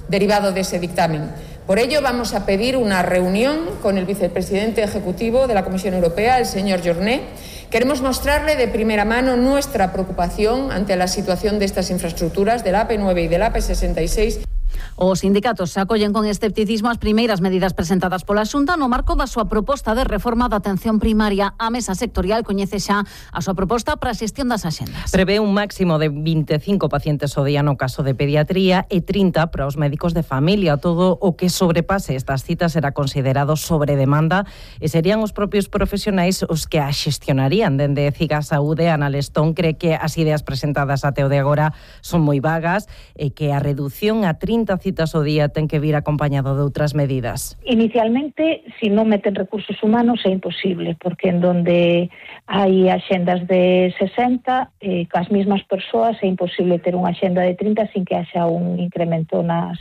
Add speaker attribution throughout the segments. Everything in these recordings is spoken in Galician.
Speaker 1: derivado de ese dictamen. Por ello, vamos a pedir una reunión con el vicepresidente ejecutivo de la Comisión Europea, el señor Journet. Queremos mostrarle de primera mano nuestra preocupación ante la situación de estas infraestructuras, de la AP9 y de la AP66.
Speaker 2: Os sindicatos acollen con escepticismo as primeiras medidas presentadas pola Xunta no marco da súa proposta de reforma da atención primaria. A mesa sectorial coñece xa a súa proposta para a xestión das axendas.
Speaker 3: Prevé un máximo de 25 pacientes ao día no caso de pediatría e 30 para os médicos de familia. Todo o que sobrepase estas citas será considerado sobredemanda e serían os propios profesionais os que a xestionarían. Dende CIGA Saúde, Ana Lestón cree que as ideas presentadas até o de agora son moi vagas e que a reducción a 30 citas ao día ten que vir acompañado de outras medidas.
Speaker 4: Inicialmente, si non meten recursos humanos é imposible, porque en donde hai axendas de 60, cas mismas persoas é imposible ter unha axenda de 30 sin que haxa un incremento nas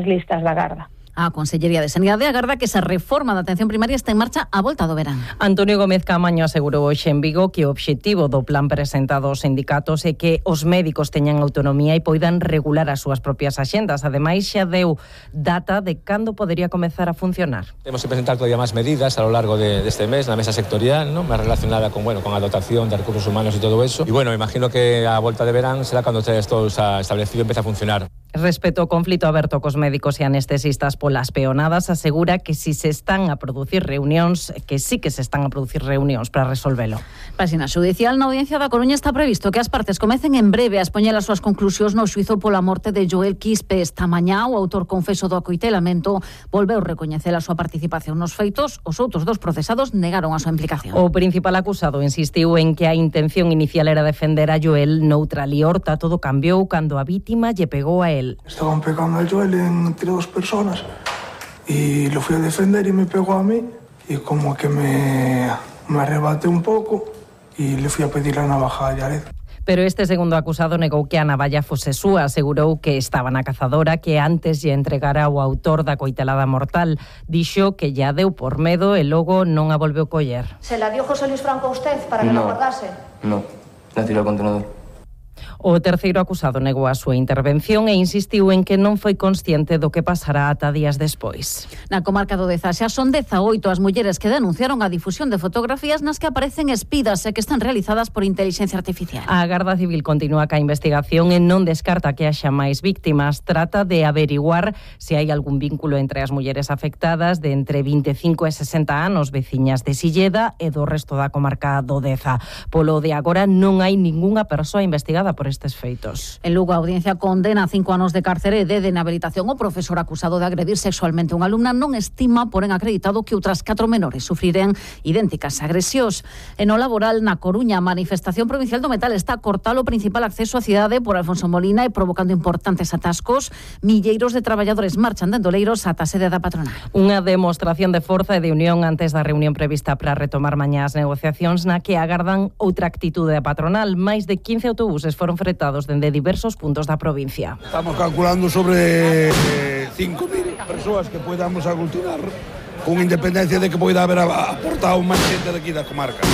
Speaker 4: listas da garda.
Speaker 2: A Consellería de Sanidade agarda que esa reforma da atención primaria está en marcha á volta do verán.
Speaker 3: Antonio Gómez Caamaño asegurou hoxe en Vigo que o obxectivo do plan presentado aos sindicatos é que os médicos teñan autonomía e poidan regular as súas propias axendas. Ademais, xa deu data de cando podería comezar a funcionar.
Speaker 5: Temos que presentar todavía máis medidas a lo largo deste mes na mesa sectorial, ¿no? Máis relacionada con a dotación de recursos humanos e todo eso. E imagino que a volta de verán será cando todo isto establecido empeza a funcionar.
Speaker 3: Respecto ao conflito aberto cos médicos e anestesistas polas peonadas, asegura que si se están a producir reunións, que sí que se están a producir reunións para resolvelo.
Speaker 2: Páxina xudicial, na Audiencia da Coruña está previsto que as partes comecen en breve a expoñer as súas conclusións no xuizo pola morte de Joel Quispe. Esta mañá, o autor confeso do acoitelamento volveu recoñecer a súa participación nos feitos. Os outros dos procesados negaron a súa implicación.
Speaker 3: O principal acusado insistiu en que a intención inicial era defender a Joel noutra liorta. Todo cambiou cando a vítima lle pegou a él.
Speaker 6: Estaban pegando a Joel entre dos personas y lo fui a defender y me pegó a mí y como que me arrebaté un poco y le fui a pedir la navaja a Yared.
Speaker 3: Pero este segundo acusado negou que a navalla fose súa, asegurou que estaba na cazadora, que antes lle entregara o autor da coitelada mortal. Dixo que ya deu por medo e logo non a volveu coller.
Speaker 7: ¿Se la dio José Luis Franco a usted para que la guardase?
Speaker 8: No, la tiró al contenedor.
Speaker 3: O terceiro acusado negou a súa intervención e insistiu en que non foi consciente do que pasará ata días despois.
Speaker 2: Na comarca do Deza xa son 18 as mulleres que denunciaron a difusión de fotografías nas que aparecen espidas e que están realizadas por inteligencia artificial.
Speaker 3: A Garda Civil continúa ca investigación e non descarta que haxa máis víctimas. Trata de averiguar se hai algún vínculo entre as mulleres afectadas de entre 25 e 60 anos, veciñas de Silleda e do resto da comarca do Deza. Polo de agora non hai ningunha persoa investigada por estes feitos.
Speaker 2: En Lugo, a audiencia condena a 5 anos de cárcere e de inhabilitación. O profesor acusado de agredir sexualmente unha alumna non estima, porén acreditado, que outras 4 menores sufriren idénticas agresións. En o laboral, na Coruña, a manifestación provincial do metal está a cortar o principal acceso á cidade por Alfonso Molina e provocando importantes atascos. Milleiros de traballadores marchan de Endoleiros ata a sede da patronal.
Speaker 3: Unha demostración de forza e de unión antes da reunión prevista para retomar mañá as negociacións na que agardan outra actitude da patronal. Máis de 15 autobuses foron fretados dende diversos puntos da provincia.
Speaker 9: Estamos calculando sobre 5.000 persoas que podamos aglutinar con independencia de que poida haber aportado máis xente daqui da comarca.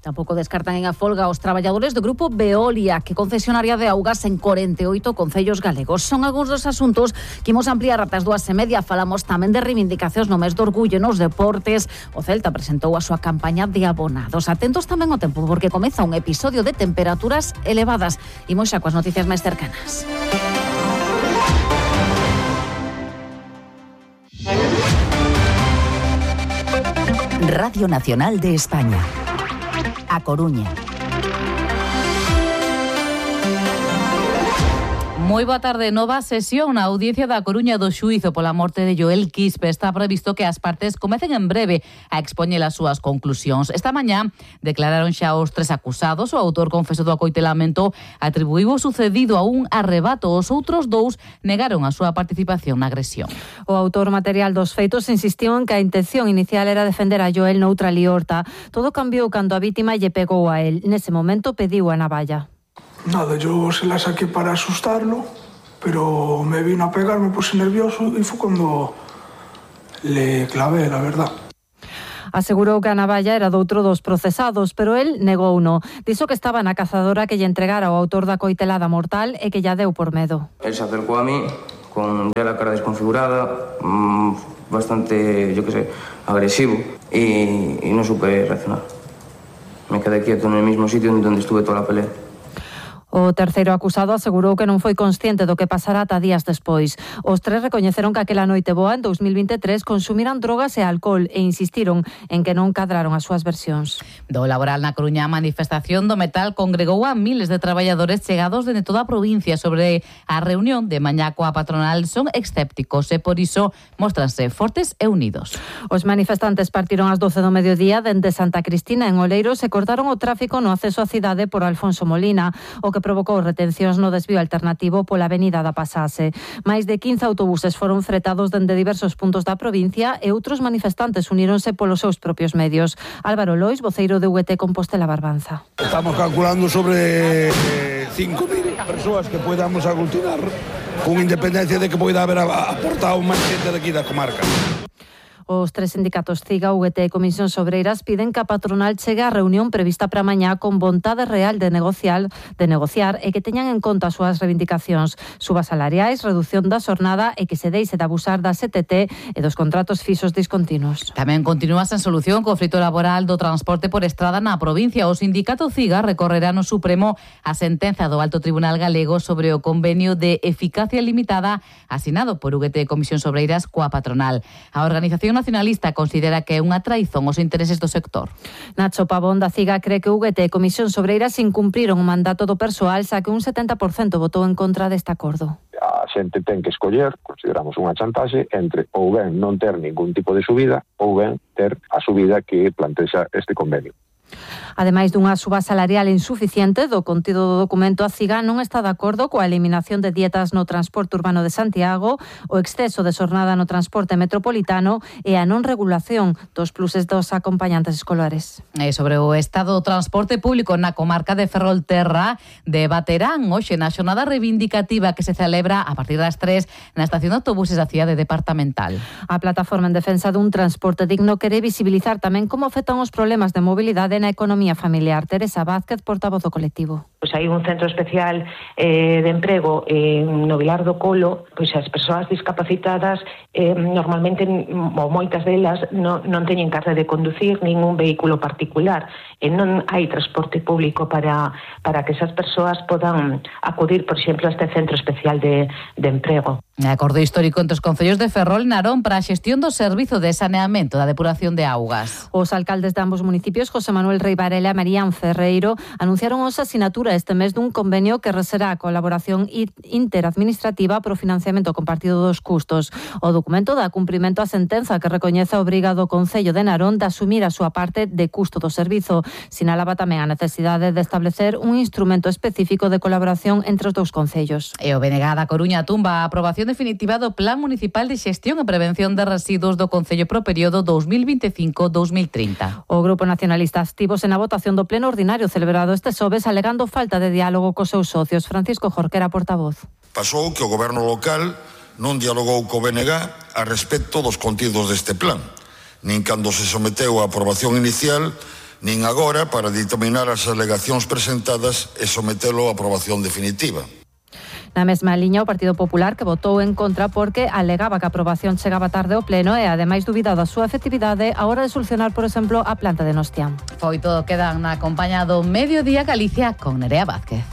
Speaker 2: Tampouco descartan en a folga os traballadores do grupo Veolia, que concesionaria de augas en 48 concellos galegos. Son algúns dos asuntos que imos ampliar ata as 2:30. Falamos tamén de reivindicacións no mes do orgullo nos deportes. O Celta presentou a súa campaña de abonados. Atentos tamén ao tempo, porque comeza un episodio de temperaturas elevadas. Imos xa coas noticias máis cercanas.
Speaker 10: Radio Nacional de España. A Coruña.
Speaker 11: Moi boa tarde. Nova sesión na Audiencia da Coruña do xuízo pola morte de Joel Quispe. Está previsto que as partes comecen en breve a expoñer as súas conclusións. Esta mañá declararon xa os 3 acusados. O autor confeso do acoitelamento atribuíu o sucedido a un arrebato. Os outros 2 negaron a súa participación na agresión.
Speaker 12: O autor material dos feitos insistiu en que a intención inicial era defender a Joel noutra liorta. Todo cambiou cando a vítima lle pegou a él. Nese momento pediu a navalla.
Speaker 6: Nada, yo se la saqué para asustarlo, pero me vino a pegar, me puse nervioso y fue cuando le clavé, la verdad.
Speaker 12: Asegurou que a navalla era doutro dos procesados, pero el negouno. Dixo que estaba na cazadora que lle entregara o autor da coitelada mortal e que lla deu por medo.
Speaker 8: Él se acercó a mí con ya la desconfigurada, bastante, yo qué sé, agresivo y no supe reaccionar. Me quedé quieto en el mismo sitio donde estuve toda la pelea.
Speaker 12: O terceiro acusado asegurou que non foi consciente do que pasara ata días despois. Os tres recoñeceron que aquela noite boa en 2023 consumiran drogas e alcohol e insistiron en que non cadraron as súas versións.
Speaker 11: Do laboral na Coruña, a manifestación do metal congregou a miles de traballadores chegados dende toda a provincia sobre a reunión de mañá coa patronal. Son escépticos e por iso móstranse fortes e unidos.
Speaker 12: Os manifestantes partiron ás 12 do mediodía dende Santa Cristina en Oleiros e cortaron o tráfico no acceso á cidade por Alfonso Molina, o que provocou retencións no desvío alternativo pola avenida da Pasase. Máis de 15 autobuses foron fretados dende diversos puntos da provincia e outros manifestantes uníronse polos seus propios medios. Álvaro Lois, voceiro de UGT Compostela Barbanza.
Speaker 9: Estamos calculando sobre 5.000 persoas que podamos aglutinar con independencia de que poida haber aportado máis xente daqui da comarca.
Speaker 12: Os tres sindicatos CIGA, UGT e Comisións Obreiras piden que a patronal chegue á reunión prevista para mañá con vontade real de negociar e que teñan en conta as súas reivindicacións, subas salariais, reducción da xornada e que se deixe de abusar da CTT e dos contratos fixos discontinuos.
Speaker 11: Tamén continúa sen solución o conflito laboral do transporte por estrada na provincia. O sindicato CIGA recorrerá no Supremo a sentenza do Alto Tribunal Galego sobre o convenio de eficacia limitada asinado por UGT e Comisións Obreiras coa patronal. A organización nacionalista considera que é unha traizón aos intereses do sector.
Speaker 12: Nacho Pavón da CIGA cree que UGT e Comisións Obreiras incumpriron o mandato do persoal, xa que un 70% votou en contra deste acordo.
Speaker 13: A xente ten que escoller, consideramos unha chantaxe, entre ou ben non ter ningún tipo de subida ou ben ter a subida que plantexa este convenio.
Speaker 12: Ademais dunha suba salarial insuficiente do contido do documento, a CIGA non está de acordo coa eliminación de dietas no transporte urbano de Santiago, o exceso de xornada no transporte metropolitano e a non regulación dos pluses dos acompañantes escolares.
Speaker 11: E sobre o estado do transporte público na comarca de Ferrolterra, debaterán hoxe na xornada reivindicativa que se celebra a partir das 3 na estación de autobuses da cidade departamental.
Speaker 12: A plataforma en defensa dun transporte digno quere visibilizar tamén como afectan os problemas de mobilidade na economía familiar. Teresa Vázquez, portavoz do colectivo.
Speaker 14: Pois hai un centro especial de emprego no Vilar do Colo, pois as persoas discapacitadas normalmente, ou moitas delas, non teñen carta de conducir ningún vehículo particular e non hai transporte público para que esas persoas podan acudir, por exemplo, a este centro especial de emprego.
Speaker 11: Acordo histórico entre os concellos de Ferrol e Narón para a xestión do servizo de saneamento da depuración de augas.
Speaker 12: Os alcaldes de ambos municipios, José Manuel Rei Varela e Marían Ferreiro, anunciaron hoxe a sinatura este mes dun convenio que reserá a colaboración interadministrativa para o financiamento compartido dos custos. O documento dá cumprimento á sentenza que recoñece a obriga do Concello de Narón de asumir a súa parte de custo do servizo. Sinalaba tamén a necesidade de establecer un instrumento específico de colaboración entre os dous concellos.
Speaker 11: E o BNG da Coruña tumba a aprobación definitiva do Plan Municipal de Xestión e Prevención de Residuos do Concello pro período 2025-2030.
Speaker 12: O Grupo Nacionalista activose na votación do pleno ordinario celebrado este xoves alegando falta de diálogo cos seus socios. Francisco Jorquera, portavoz.
Speaker 15: Pasou que o goberno local non dialogou co BNG a respecto dos contidos deste plan, nin cando se someteu á aprobación inicial, nin agora para determinar as alegacións presentadas e sometelo á aprobación definitiva.
Speaker 12: Na mesma liña, o Partido Popular, que votou en contra porque alegaba que a aprobación chegaba tarde ao pleno e, ademais, dubidado a súa efectividade a hora de solucionar, por exemplo, a planta de Nostián.
Speaker 11: Foi todo, quedan na compañía do Mediodía Galicia con Nerea Vázquez.